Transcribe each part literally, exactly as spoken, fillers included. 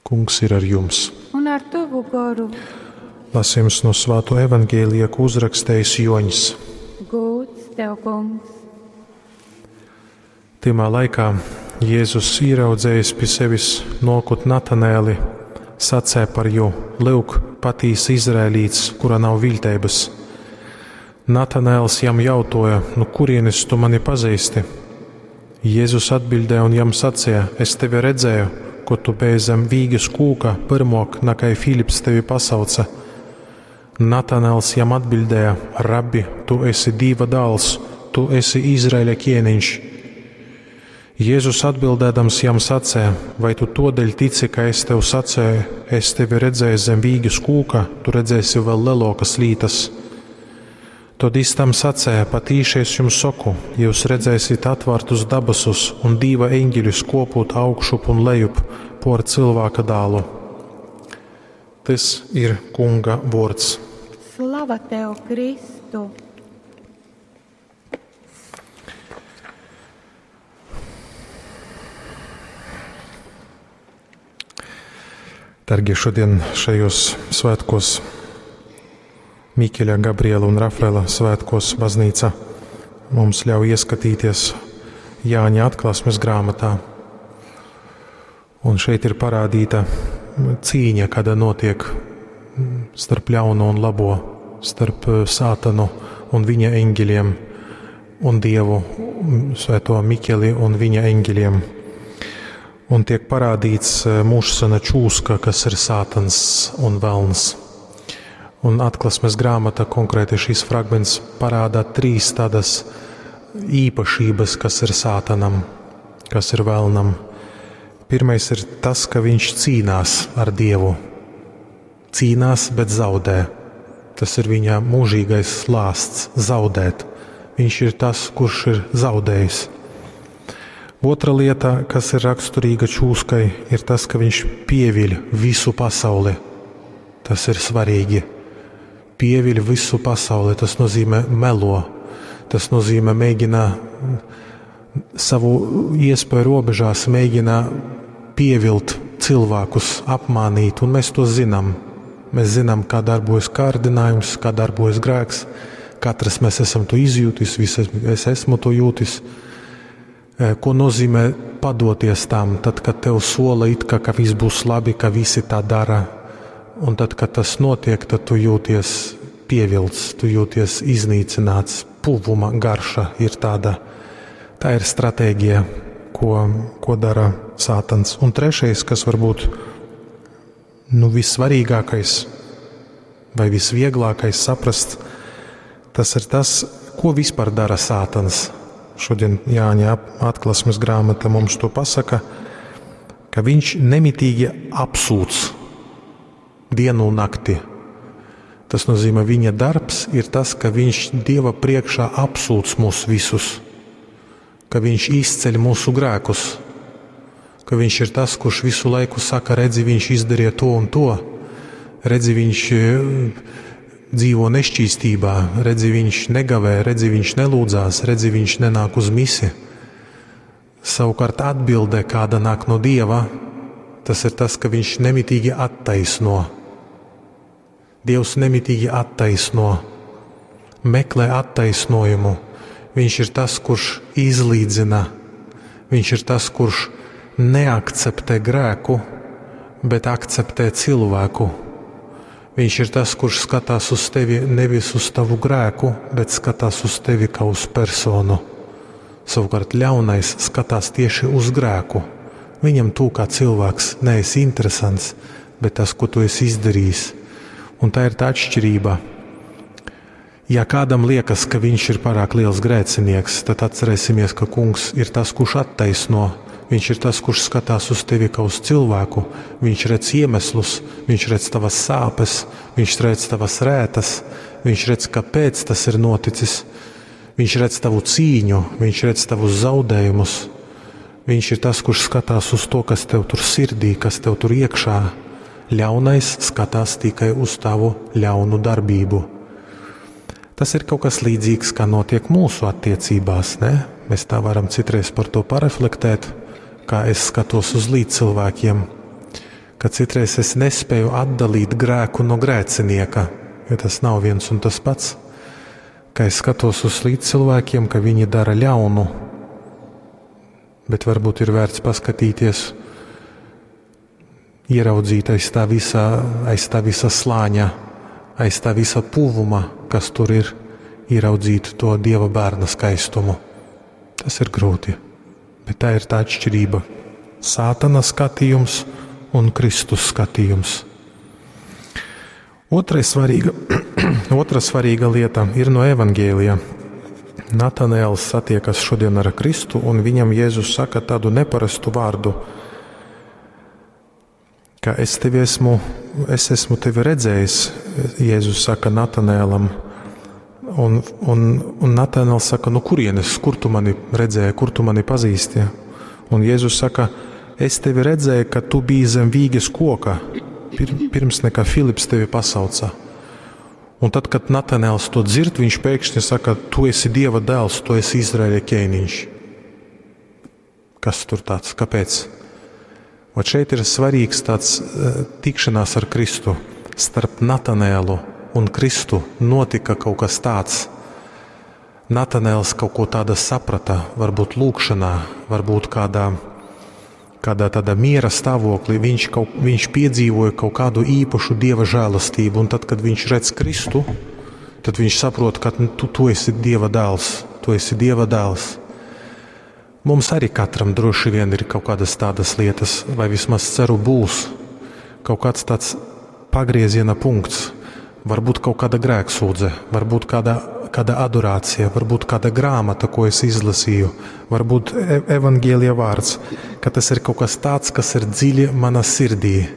Kungs ir ar jums. Un ar tavu goru. Lasījums no Svāto evaņģēlija, ko uzrakstījis Joņs. Gūds tev, kungs. Tymā laikā Jēzus ieraudzējis pie sevis nokut Natanēli, sacē par jū: Lyuk, patīs Izraēlīts, kura nav viļteibas. Natanēls jam jautoja: Nu kurienes tu mani pazīsti? Jēzus atbildēja un jam sacīja: Es tevi redzēju, ko tu biji zem vīgas kūka, pirmok, nakai Filips tevi pasauca. Natanēls jam atbildēja: Rabbi, tu esi Dīva dāls, tu esi Izraēļa ķēniņš. Jēzus atbildēdams jam sacīja: Vai tu todēļ tici, ka es tev sacēju, es tevi redzēju zem vīgas kūka, tu redzēsi vēl lielākas lītas? Tad es tam sacēju: Patīši es jums saku, jūs redzēsiet atvērtus dabasus un Dīva eņģeļus kopūt augšup un lejup por cilvēka dālu. Tas ir Kunga vārds. Slava tev, Kristu! Dargie, šodien šajos svētkos, Mikeļa, Gabriela un Rafaela svētkos, baznīca mums ļauj ieskatīties Jāņa atklāsmes grāmatā. Un šeit ir parādīta cīņa, kāda notiek starp ļauno un labo, starp Sātanu un viņa eņģeļiem un Dievu, Svēto Mikeli un viņa eņģeļiem. Un tiek parādīts mūžsena čūska, kas ir Sātans un velns. Un atklāsmes grāmata, konkrēti šis fragments, parāda trīs tādas īpašības, kas ir Sātanam, kas ir velnam. Pirmais ir tas, ka viņš cīnās ar Dievu. Cīnās, bet zaudē. Tas ir viņa mūžīgais lāsts – zaudēt. Viņš ir tas, kurš ir zaudējis. Otra lieta, kas ir raksturīga čūskai, ir tas, ka viņš pieviļ visu pasauli. Tas ir svarīgi. Pieviļ visu pasauli, tas nozīmē melo. Tas nozīmē mēģina savu iespēju robežās, mēģina pievilt cilvēkus, apmānīt, un mēs to zinām. Mēs zinām, kā darbojas kārdinājums, kā darbojas grēks. Katrs mēs esam to izjūtis, visi es esmu to jūtis. Ko nozīmē padoties tam, tad, kad tev sola it kā, ka viss būs labi, ka visi tā dara. Un tad, kad tas notiek, tad tu jūties pievilts, tu jūties iznīcināts. Puvuma garša ir tāda. Tā ir stratēģija, ko, ko dara Sātans. Un trešais, kas varbūt nu, vissvarīgākais vai visvieglākais saprast, tas ir tas, ko vispār dara Sātans. Šodien Jāņa atklāsmes grāmata mums to pasaka, ka viņš nemitīgi apsūdz dienu un nakti. Tas nozīmē, viņa darbs ir tas, ka viņš Dieva priekšā apsūdz mūs visus, ka viņš izceļ mūsu grēkus, ka viņš ir tas, kurš visu laiku saka, redzi, viņš izdarīja to un to, redzi, viņš dzīvo nešķīstībā, redzi, viņš negavē, redzi, viņš nelūdzās, redzi, viņš nenāk uz misi. Savukārt atbilde, kāda nāk no Dieva, tas ir tas, ka viņš nemitīgi attaisno. Dievs nemitīgi attaisno, meklē attaisnojumu. Viņš ir tas, kurš izlīdzina. Viņš ir tas, kurš neakceptē grēku, bet akceptē cilvēku. Viņš ir tas, kurš skatās uz tevi nevis uz tavu grēku, bet skatās uz tevi kā uz personu. Savukārt ļaunais skatās tieši uz grēku. Viņam tu kā cilvēks neesi interesants, bet tas, ko tu esi izdarījis. Un tā ir tā atšķirība. Ja kādam liekas, ka viņš ir pārāk liels grēcinieks, tad atcerēsimies, ka Kungs ir tas, kurš attaisno. Viņš ir tas, kurš skatās uz tevi kā uz cilvēku. Viņš redz iemeslus, viņš redz tavas sāpes, viņš redz tavas rētas, viņš redz, kāpēc tas ir noticis. Viņš redz tavu cīņu, viņš redz tavus zaudējumus. Viņš ir tas, kurš skatās uz to, kas tev tur sirdī, kas tev tur iekšā. Ļaunais skatās tikai uz tavu ļaunu darbību. Tas ir kaut kas līdzīgs, kā notiek mūsu attiecībās, ne? Mēs tā varam citreiz par to pareflektēt, kā es skatos uz līdzcilvēkiem, Ka citreiz es nespēju atdalīt grēku no grēcinieka, jo tas nav viens un tas pats. Ka es skatos uz līdzcilvēkiem, ka viņi dara ļaunu, bet varbūt ir vērts paskatīties, ieraudzīt aiz tā visa, aiz tā visa slāņa, aiz tā visa puvuma, kas tur ir, ieraudzīt to Dieva bērna skaistumu. Tas ir grūti, bet tā ir tā atšķirība. Sātana skatījums un Kristus skatījums. Otrais svarīga, otra svarīga lieta ir no Evangēlija. Natanēls satiekas šodien ar Kristu, un viņam Jēzus saka tādu neparastu vārdu, ka es tevi esmu, es esmu tevi redzējis, Jēzus saka Natanēlam. Un, un, un Natanēls saka, nu kurienes, kur tu mani redzēji, kur tu mani pazīsti? Un Jēzus saka, es tevi redzēju, ka tu biji zem vīges koka, pir, pirms nekā Filips tevi pasauca. Un tad, kad Natanēls to dzird, viņš pēkšņi saka, tu esi Dieva dēls, tu esi Izraēļa ķēniņš. Kas tur tāds? Kāpēc? Vot šeit ir svarīgs tāds tikšanās ar Kristu. Starp Natanēlu un Kristu notika kaut kas tāds. Natanēls kaut ko tādu saprata, varbūt lūgšanā, varbūt kādā, kādā tādā miera stāvoklī. Viņš, kaut, viņš piedzīvoja kaut kādu īpašu Dieva žēlastību, un tad, kad viņš redz Kristu, tad viņš saprot, ka tu, tu esi Dieva dēls, tu esi Dieva dēls. Mums arī katram droši vien ir kaut kādas tādas lietas, vai vismaz ceru būs kaut kāds tāds pagrieziena punkts, varbūt kaut kāda grēksūdze, varbūt kāda, kāda adorācija, varbūt kāda grāmata, ko es izlasīju, varbūt e evaņģēlija vārds, ka tas ir kaut kas tāds, kas ir dziļi manā sirdī.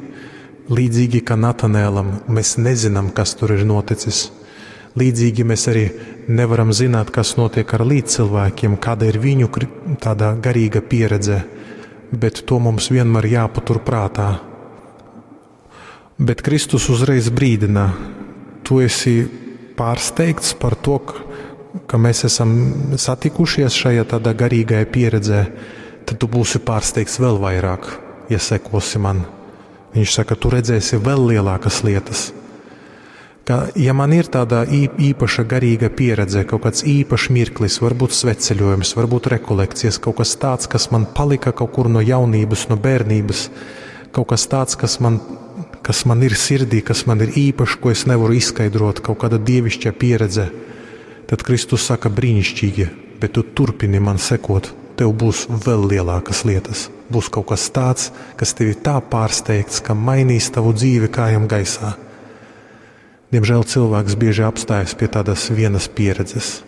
Līdzīgi kā Natanēlam, mēs nezinām, kas tur ir noticis. Līdzīgi mēs arī nevaram zināt, kas notiek ar līdzcilvēkiem, kāda ir viņu tāda garīga pieredze, bet to mums vienmēr jāpatur prātā. Bet Kristus uzreiz brīdina, tu esi pārsteigts par to, ka mēs esam satikušies šajā tādā garīgajā pieredzē, tad tu būsi pārsteigts vēl vairāk, ja sekosi man. Viņš saka, tu redzēsi vēl lielākas lietas. Ka, ja man ir tāda īpaša garīga pieredze, kaut kāds īpašs mirklis, varbūt svētceļojums, varbūt rekolekcijas, kaut kas tāds, kas man palika kaut kur no jaunības, no bērnības, kaut kas tāds, kas man, kas man ir sirdī, kas man ir īpašs, ko es nevaru izskaidrot, kaut kāda dievišķa pieredze, tad Kristus saka brīnišķīgi, bet tu turpini man sekot, tev būs vēl lielākas lietas. Būs kaut kas tāds, kas tevi tā pārsteigts, ka mainīs tavu dzīvi kājām gaisā. Diemžēl cilvēks bieži apstājas pie tādas vienas pieredzes,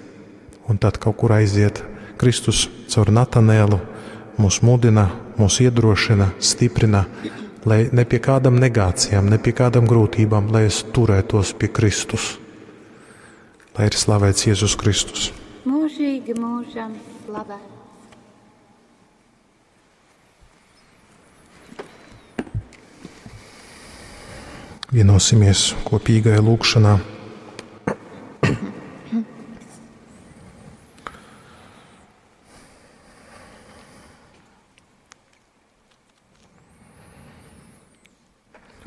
un tad kaut kur aiziet. Kristus caur Natanēlu mūs mudina, mūs iedrošina, stiprina, lai ne pie kādām negācijām, ne pie kādām grūtībām, lai es turētos pie Kristus. Lai ir slavēts Jēzus Kristus. Mūžīgi mūžam slavēts. Vienosimies kopīgajā lūgšanā.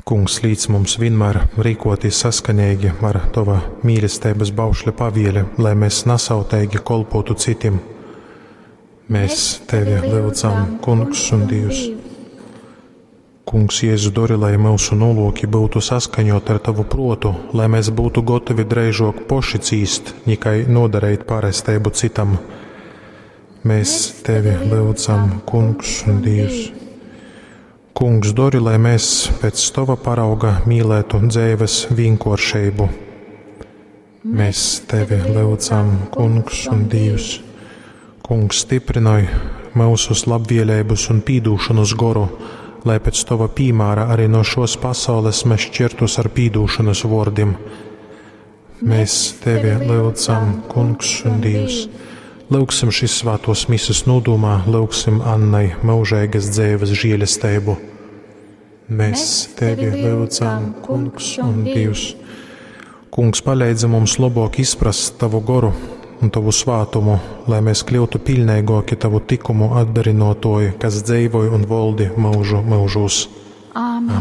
Kungs, līdz mums vienmēr rīkoties saskaņīgi ar Tava mīlestības baušļa pavieli, lai mēs nasauteigi kolpotu citiem. Mēs Tevi lūdzam, Kungs un Dievs. Kungs, Jēzu, dori, lai mūsu nolūki būtu saskaņot ar Tavu protu, lai mēs būtu gatavi dreižok poši cīst, nikai nodarīt pāresteibu citam. Mēs Tevi lūdzam, Kungs un Dievs. Kungs, dori, lai mēs pēc Tava parauga mīlētu dzīves vienkāršību. Mēs Tevi lūdzam, Kungs un Dievs. Kungs, stiprinoj mūsu labvēlības un pīdūšanas goru, lai pēc Tava piemēra arī no šos pasaules mēs šķirtos ar pīdūšanas vārdiem. Mēs Tevi lūdzam, Kungs un Dievs. Lūgsim šīs svētos mises nodomā, lūgsim Annai mūžīgas dzīves žēlastību. Mēs Tevi lūdzam, Kungs un Dievs. Kungs, palīdzi mums labāk izprast Tavu goru un Tavu svātumu, lai mēs kļūtu pilnīgāki Tavu tikumu atdarinotoji, kas dzīvoja un valdi mūžu mūžos. Āmen.